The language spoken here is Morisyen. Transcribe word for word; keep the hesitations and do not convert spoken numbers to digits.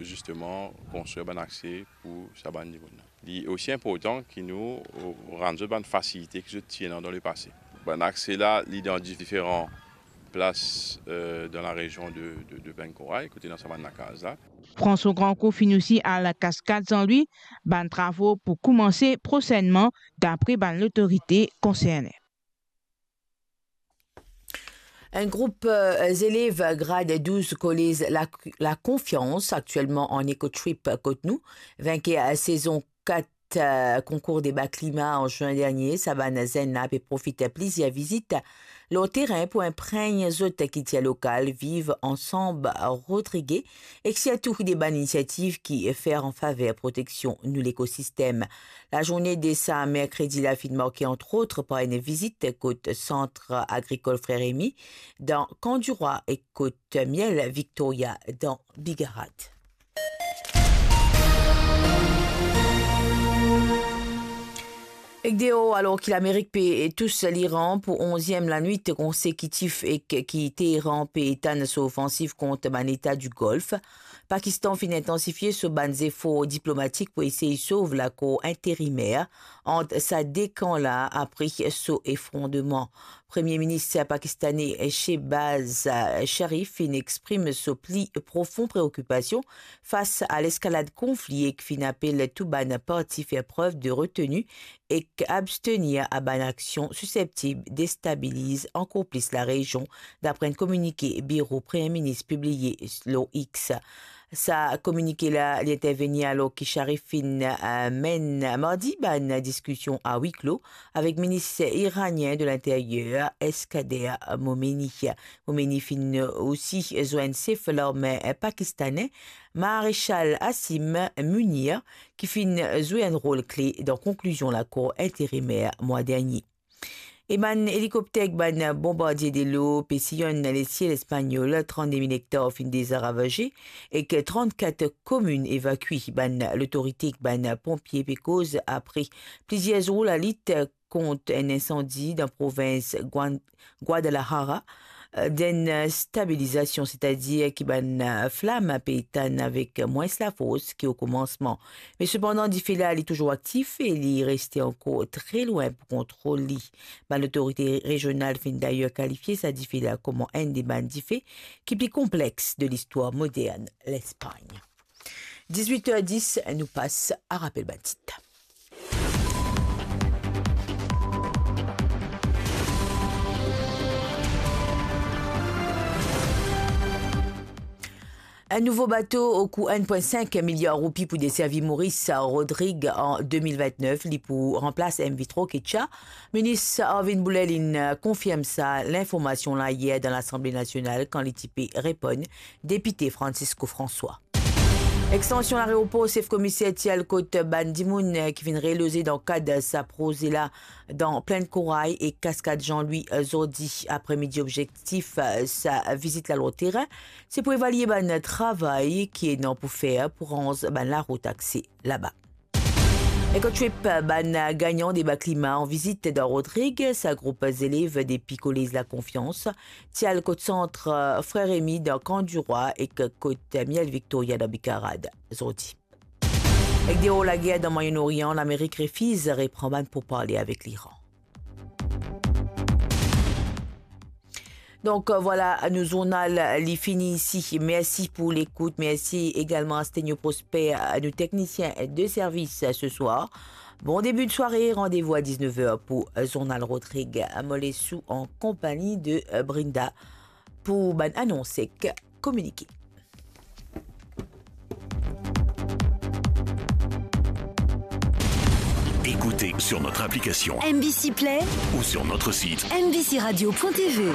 zisteman konstrir bann akse pou sa bann dimoun la. Li osi inportan ki nou, eh, rann zot bann fasilite ki zot ti ena dan lepase. Bann akse la, li dan diferan plas, eh, dan larezion de, de, de Plenn Koray, kote ena sa bann lakaz la. François Grandcourt finn osi al Kaskad Zan Lwi, bann travo pou koumanse prosennman, dapre bann lotorite konserne. Enn group, eh, zelev grad douz kolez La, La Confiance, aktielman an Eco Trip kot nou, vinker sezon kat, eh, konkour deba klima an zin dernie. Sa bann zenn la pe profit plizier vizit lor terin pou inpregn zot kiltir lokal, Viv Ansanm Rodrigues, ek sirtou de bann inisiativ ki fer an faver proteksion nou lekosistem. Lazourne de sa merkredi la finn marke, antrot, par enn vizit kot Sant Agrikol Frer Remy dan Kan Dirwa ek kot Miel Victoria dan Bigarad. Ek deor, alor ki Lamerik pe tous Liran pou onziem lanwit konsekitif ek ki Teheran pe etann so ofansiv kont bann Leta di Golf, Pakistan finn intansifie so bann zefor diplomatik pou esey sov lakor interimer ant sa de kan la apre so efrondreman. Premie Minis pakistane Shehbaz Sharif finn exprim so pli profon preokipasion fas a leskalad konfli ek finn apel tou bann parti fer prev de reteni ek abstenir a bann aksion siseptib destabiliz ankor plis larezion, dapre enn kominike biro Premie Minis pibliye lor X. Sa kominike la, li intervenir alor ki Sharif finn, eh, menn mardi bann diskision a wi klo avek minis iranien de linteryer, Eskander Momeini. Momeini finn osi zwenn sef larme pakistane, Maresal Asim Munir, ki finn zwe enn rol kle dan konklizion lakor interimer mwa dernie. E bann elikopter ek bann bonbardie de lo pe sillonn lesiel Espanyol, trannde mil ektar finn deza ravaze, ek trannkat komin evakue. Bann lotorite ek bann ponpie pe koz apre plizier zour lalit kont enn insandi dan provins Guan-, Guadalajara, eh, d'enn stabilizasion, setadir ki bann, eh, flam pe etann avek mwins lafors ki o koumansman. Me sepandan, dife la, li touzour aktif e li reste ankor tre lwin pou kontrol li. Bann lotorite rezional finn dayer kalifie sa dife la kouma enn de bann dife ki pli konplex de listwar modern Lespagn. Dizwit er dis, nou pas a rapel bann tit. Enn nouvo bato kou enn pwin sink miliar roupi pou deservi Moris, Rodrig an de mil vintnef, li pou ranplas M V Tro Kecha. Minis Arvin Boulel inn konfirm sa linformasion la yer dan Lasanble Nasional kan li ti pe reponn depite Francisco François. Extansion laeropor, sef komiser ti al kot bann dimoun ki finn reloze dan kad sa proze la dan Plenn Koray e Kaskad Jean-Louis, eh, zordi apremidi. Objektif, eh, sa vizit la lor terin, se pou evalie bann travay ki ena pou fer pou ranz bann larout akse laba. Ecotrip, bann gagnan deba klima an vizit dan Rodrig, sa group zelev depi Kolez Lakonfians ti al kot Sant Frer Remy dan Kan Dirwa ek kot Miel Victoria dan Bigarad zordi. Ek deor lager dan Mwayen Orian, Lamerik refiz repran bann pourparle avek Liran. Donk, vwala, nou zournal li fini isi. Mersi pou lekout. Mersi egalman a Stenio Prosper, nou teknisien de servis se swar. Bon debi de sware, randevou a diznef er pou zournal Rodrig. Mo les ou an konpagni de Brinda pou bann anons ek kominike. Écoutez sur notre application M B C Play ou sur notre site M B C radio point T V.